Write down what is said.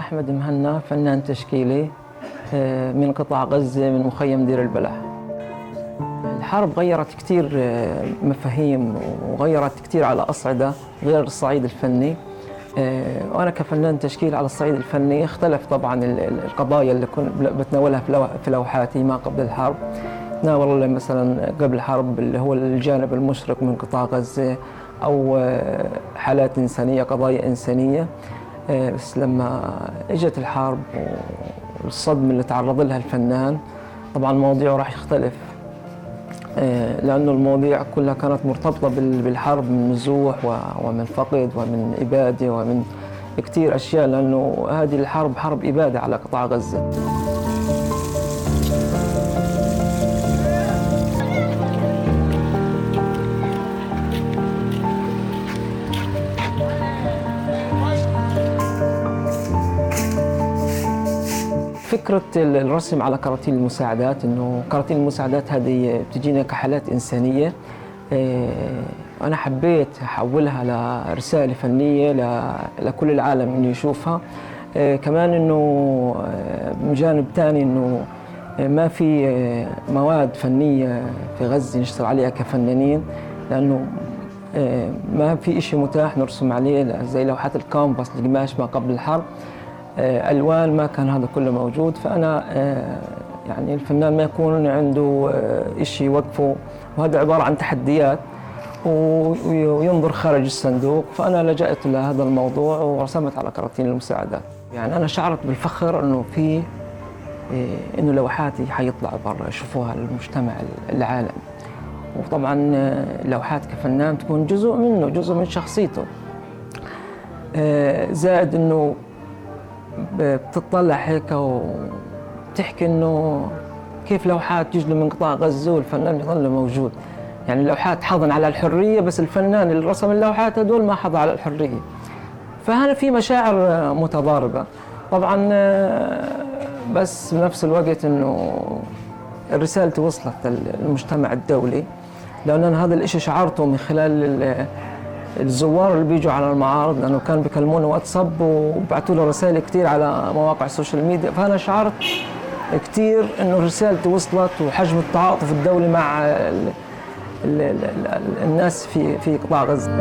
أحمد مهنا، فنان تشكيلي من قطاع غزة من مخيم دير البلح. الحرب غيرت كتير مفاهيم وغيرت كتير على أصعدة غير الصعيد الفني. وأنا كفنان تشكيل على الصعيد الفني اختلف طبعا القضايا اللي كنت بتناولها في لوحاتي ما قبل الحرب. تناول مثلا قبل الحرب اللي هو الجانب المشرق من قطاع غزة أو حالات إنسانية، قضايا إنسانية. بس لما اجت الحرب والصدمة اللي تعرض لها الفنان طبعا مواضيعه راح يختلف، لأنه المواضيع كلها كانت مرتبطة بالحرب من نزوح ومن فقد ومن إبادة ومن كتير أشياء، لأنه هذه الحرب حرب إبادة على قطاع غزة. فكرة الرسم على كراتين المساعدات، إنه كراتين المساعدات هذه بتجينا كحالات إنسانية، أنا حبيت أحولها لرسالة فنية لكل العالم إنه يشوفها. كمان إنه من جانب تاني إنه ما في مواد فنية في غزة نشتغل عليها كفنانين، لأنه ما في إشي متاح نرسم عليه زي لوحات الكامباس القماش ما قبل الحرب. ألوان ما كان هذا كله موجود، فأنا يعني الفنان ما يكون عنده إشي يوقفه، وهذا عبارة عن تحديات وينظر خارج الصندوق. فأنا لجأت لهذا الموضوع ورسمت على كراتين المساعدات. يعني أنا شعرت بالفخر إنه إنه لوحاتي حيطلع برا يشوفوها المجتمع العالم. وطبعا لوحات كفنان تكون جزء منه، جزء من شخصيته. زائد إنه بتطلع هيك وبتحكي إنه كيف لوحات تجي من قطاع غزة والفنان يظل موجود. يعني اللوحات حضن على الحرية، بس الفنان اللي رسم اللوحات هدول ما حضن على الحرية. فهنا في مشاعر متضاربة طبعا، بس بنفس الوقت إنه الرسالة وصلت للمجتمع الدولي، لأن أنا هذا الإشي شعرته من خلال الزوار اللي بيجوا على المعارض، لأنه كانوا بيكلموني واتساب وبعثوا له رسائل كتير على مواقع السوشيال ميديا. فأنا شعرت كتير إنه رسالتي وصلت، وحجم التعاطف الدولي مع الناس في قطاع غزة.